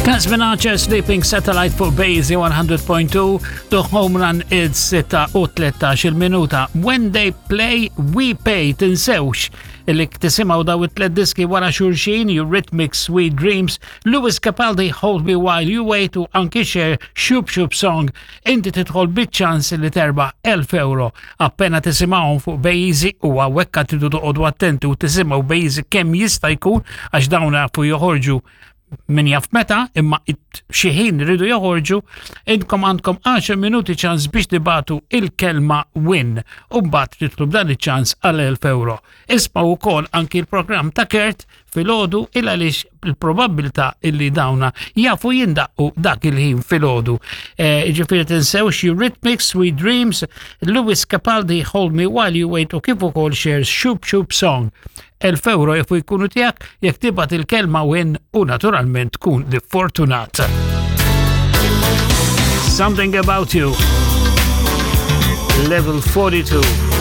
Tasmin Sleeping Satellite fuq Bazy 100.2 The Home Run id-6 u 13 il-minuta. When they play, we pay. Tinsewx illi tisimaw daw it-tlet diski wara xulxin, Eurythmics Sweet Dreams, Lewis Capaldi Hold Me While You Wait u anki Cher Shoop Shoop Song. Inti tidħol biċ-ċans li terba 1000 euro appena tisimgħuhom fuq Bejzi u hawnhekk tridu toqgħodu attenti u tisimgħu Bejzi kemm jista' jkun għax dawn jafu joħorġu min jaf meta, imma xi ħin rridu joħorġu, intkom għandkom 10 minuti ċans biex tibatu il-kelma win u mbagħad titlu b'dan iċ-ċans għal 1000 euro. Isma' wkoll anki l-programm ta' Kert filgħodu il għaliex il-probabbiltà illi dawna jafu jindaqqu dak il-ħin filgħodu. Eh, ġifieri tinsewx Eurythmics, Sweet Dreams, Lewis Capaldi Hold Me While You Wait u kif ukoll Cher's Shoop Shoop Song. 1000 euro jafu jkunu tiegħek jekk tibgħat il-kelma win u naturalment tkun li fortunat. Something About You Level 42.